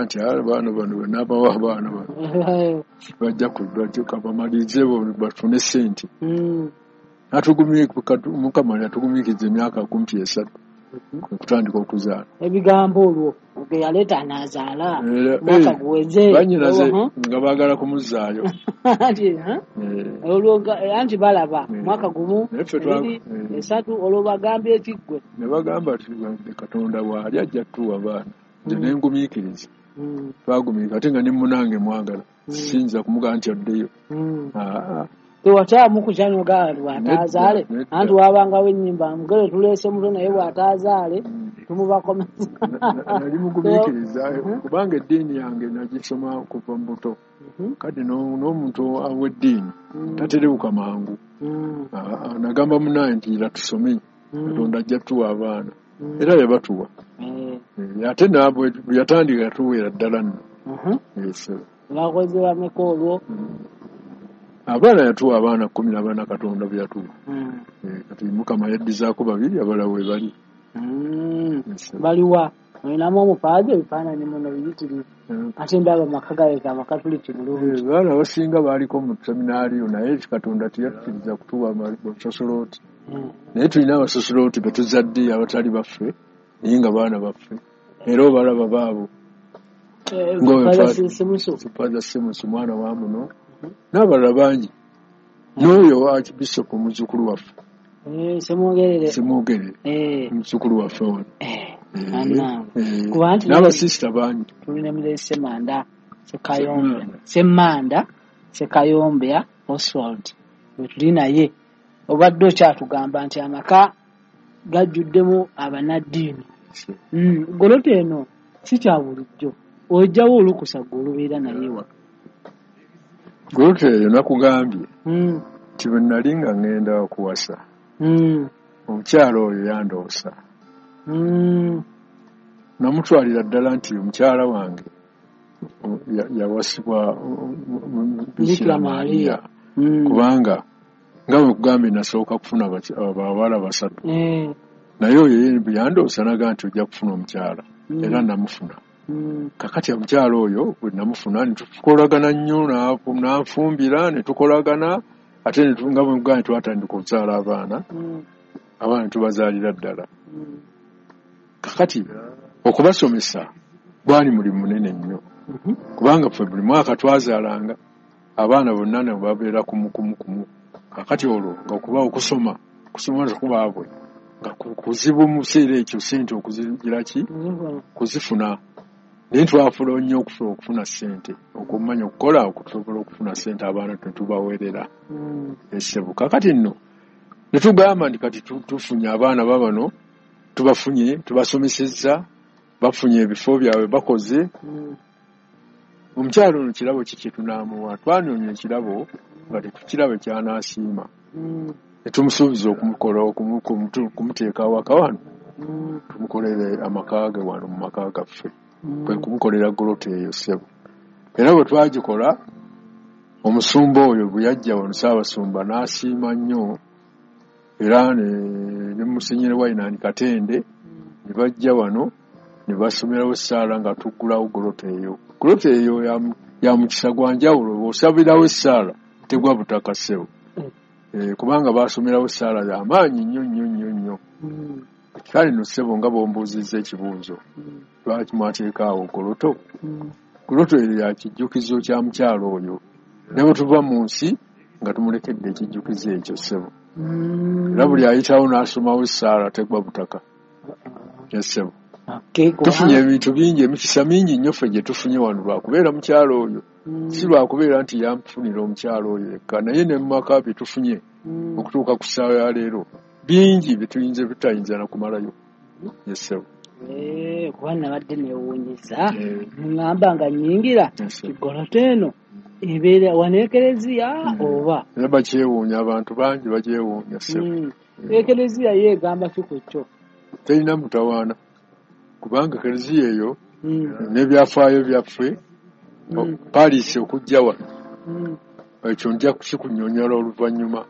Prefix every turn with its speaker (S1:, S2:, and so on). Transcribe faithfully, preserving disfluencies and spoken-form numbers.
S1: Nti abaana bano bwe abaana bano bajja bamalirize bafune ssente. Mukama yatugumiikiriza emyaka kumpi esatu okutandika okuzaala.
S2: Ebigambo olwo ge yaleeta anaazaala mwaka guweze.
S1: Bannyinaze nga baagala kumuzzaayo.
S2: Olwo anti balaba mwaka gumu ebiri esatu olwo bagambye ekiggwe.
S1: Ne bagamba nti Katonda bw'ali ajja kutuwa abaana. Nze ne ngumiikiriza. Twagumiikiriza ate nga ne munnange mwagala. Siyinza kumugamba nti addeyo.
S2: Tewatyamu kukyanoga bw'ataazaale anti wabangawo ennyimba mugere tuleese muto naye bw'ataazaale tumubakomeza.
S1: Nali mugumiikiriza kubanga eddiini yange nagisoma kuva mu buto. Kati n'omuntu w'eddiini taterebuka mangu. Nagamba munnange nti era tusome Katonda ajja kutuwa abaana. Era yabatuwa. Ate nabwe yatandika yatuweera ddala nno.
S2: Bakoze bameka olwo?
S1: Abaana yatuwa abaana kkumi na bana Katonda bwe yatuwa. Kati Mukama yaddizaako babiri abalala we bali.
S2: Baliwa olinamu omupaazi ebifaananyi muno biyitirivu ate ndaba amaka galeka amakatuliki bulungi.
S1: Abaana abasinga baaliko mu seminaariyo naye Katonda teyatukkiriza kutuwa basosoloti. Naye tulina abasosoloti be tuzadde abatali baffe naye nga baana baffe era obalaba baabo. Father Simusu mwana wa muno n'abalala bangi n'oyo Archbishop muzzukulu waffe
S2: Ssemwogerere
S1: Ssemwogerere muzzukulu waffe wano n'abasisita bangi.
S2: Tulina Muzeeyi Ssemanda Ssekayombe Ssemanda Ssekayombe Oswald bwe tuli naye obadde okyatugamba nti amaka gajjuddemu abannaddiini. Goloto eno si kya bulijjo ojjawo olukusa gwe olubeera naye ewaka.
S1: Goloto eyo nakugambye nti bwe nali nga ŋŋenda okuwasa omukyala oyo yandoosa. Namutwalira ddala nti omukyala wange yawasibwa Bikira Maria kubanga nga bwe nkugambye nasooka kufuna abawala basatu. Naye oyo yandoosa n'agamba nti ojja kufuna omukyala era namufuna. Kakati omukyala oyo bwe namufuna ne tukolagana nnyo n'anfumbira ne tukolagana ate nga bwe nkugambye twatandika okuzaala abaana abaana tubazaalira ddala. Kakati okubasomesa gwali mulimu munene nnyo kubanga ffe buli mwaka twazaalanga abaana bonna ne babeera kumu kumu kumu. Kakati olwo nga okuba okusoma okusoma kubaabwe nga kuzibu mu kiseera ekyo ssente okuzigira ki kuzifuna. Naye twafula nnyo okufuna ssente okumanya okukola okusobola okufuna ssente abaana tetubaweerera essebo. Kakati nno ne tugamba nti kati tufunye abaana babano tubafunye tubasomesezza bafunye ebifo byabwe bakoze. Omukyala ono kirabo ki kye tunaamuwa? Twanoonya ekirabo nga tetukiraba ky'anaasiima. Ne tumusuubiza okumukola okumuteeka awaka wano tumukolere amaka ge wano mu maka gaffe. Kwe kumukolera goloto eyo ssebo. Era bwe twagikola omusumba oyo bwe yajja wano Ssaabasumba n'asiima nnyo era ne Musenyeri Wayinani Katende ne bajja wano ne basomerawo essaala nga tuggulawo goloto eyo. Goloto eyo ya mukisa gwa njawulo bw'osabirawo essaala tegwa butaka ssebo. Kubanga baasomerawo essaala y'amaanyi nnyo nnyo nnyo nnyo. Kale nno ssebo nga bw'ombuuzizza ekibuuzo lwaki mwateeka awo goloto? Goloto eyo ya kijjukizo kya mukyala oyo. Ne bwe tuva mu nsi nga tumulekedde ekijjukizo ekyo ssebo. Era buli ayitawo n'asomawo essaala tegwa butaka. Ssebo. Tufunye ebintu bingi emikisa mingi nnyo ffe gye tufunye wano lwakubeera mukyala oyo. Si lwakubeera nti yanfunira omukyala oyo yekka naye ne mu maka bye tufunye okutuuka ku ssaawa ya leero bingi bye tuyinza tutayinza na kumalayo. Ssebo.
S2: Kuba nabadde neewuunyisa ŋŋamba nga nnyingira goloto eno ebeera wano ekereziya oba?
S1: Era bakyewuunya abantu bangi bakyewuunya ssebo.
S2: Ekereziya yo egamba ki ku kyo?
S1: Terina mutawaana kubanga ekereziya eyo n'ebyafaayo byaffe Paris okujja wano ekyo nja kukikunnyonnyola oluvannyuma.